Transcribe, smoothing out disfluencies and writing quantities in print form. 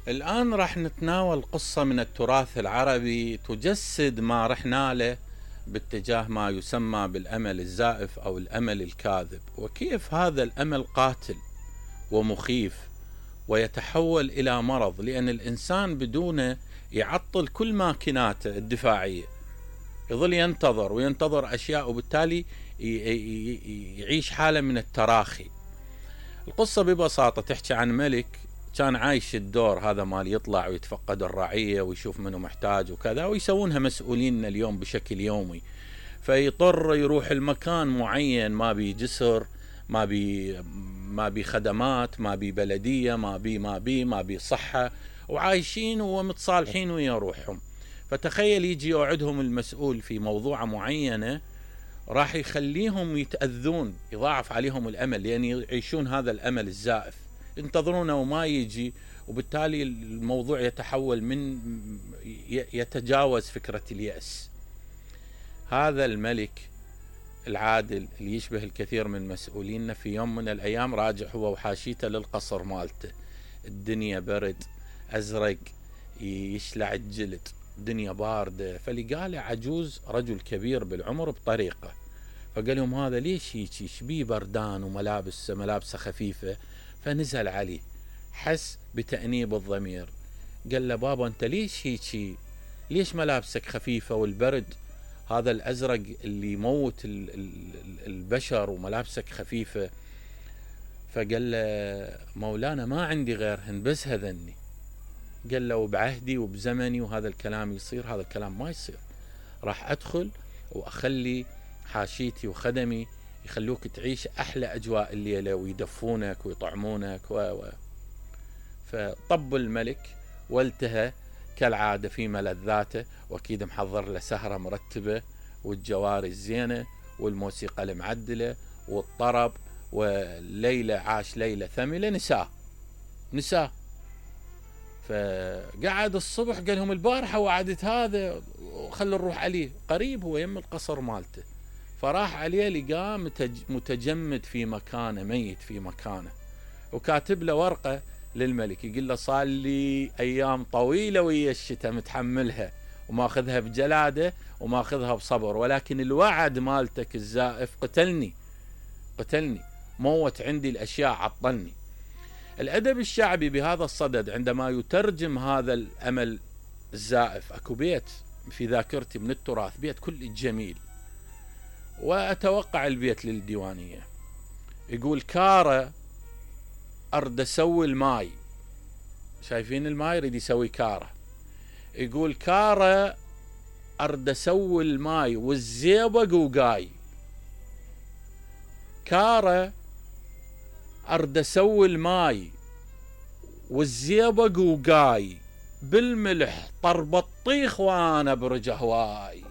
الآن راح نتناول قصة من التراث العربي تجسد ما رحنا له باتجاه ما يسمى بالأمل الزائف أو الأمل الكاذب، وكيف هذا الأمل قاتل ومخيف ويتحول إلى مرض، لأن الإنسان بدونه يعطل كل ماكيناته الدفاعية، يظل ينتظر وينتظر أشياء، وبالتالي يعيش حالة من التراخي. القصة ببساطة تحكي عن ملك كان عايش الدور هذا مال يطلع ويتفقد الرعية ويشوف منه محتاج وكذا، ويسوونها مسؤولين اليوم بشكل يومي، فيضطر يروح المكان معين ما بي جسر، ما بي خدمات، ما بي بلدية، ما بي صحة، وعايشين ومتصالحين ويا روحهم. فتخيل يجي يوعدهم المسؤول في موضوع معينة راح يخليهم يتأذون، يضاعف عليهم الأمل، لأن يعيشون هذا الأمل الزائف، ينتظرونه وما يجي، وبالتالي الموضوع يتحول من يتجاوز فكرة اليأس. هذا الملك العادل اللي يشبه الكثير من مسؤولينا في يوم من الأيام راجع هو وحاشيته للقصر مالته، الدنيا برد أزرق يشلع الجلد، الدنيا باردة، فلقاله عجوز رجل كبير بالعمر بطريقة، فقال لهم هذا ليش هيك شبيه بردان وملابسه خفيفة، فنزل عليه حس بتأنيب الضمير، قال له بابا انت ليش هيك، ليش ملابسك خفيفة والبرد هذا الأزرق اللي يموت البشر وملابسك خفيفة؟ فقال له مولانا ما عندي غيرهن بس هذني. قال له بعهدي وبزمني وهذا الكلام يصير، هذا الكلام ما يصير، راح أدخل وأخلي حاشيتي وخدمي يخلوك تعيش أحلى أجواء الليلة ويدفونك ويطعمونك فطب الملك والتهى كالعادة في ملذاته، وأكيد محضر له سهرة مرتبة والجواري الزينة والموسيقى المعدلة والطرب، والليلة عاش ليلة ثملة نساء. فقعد الصبح قال لهم البارحة وعدت هذا وخلوا نروح عليه، قريب هو يم القصر مالته، فراح عليه لقاه متجمد في مكانه، ميت في مكانه، وكاتب له ورقة للملك يقول له صار لي أيام طويلة ويا الشتاء متحملها وماخذها بجلادة وماخذها بصبر، ولكن الوعد مالتك الزائف قتلني، موت عندي الأشياء، عطلني. الأدب الشعبي بهذا الصدد عندما يترجم هذا الأمل الزائف، أكو بيت في ذاكرتي من التراث، بيت كل جميل، وأتوقع البيت للديوانية، يقول كارة أرد أسوي الماي، شايفين الماي يريد يسوي كارة، يقول كارة أرد أسوي الماي والزيبق وقاي، كارة أرد أسوي الماي والزيبق وقاي، بالملح طر بطيخ وأنا برج هواي.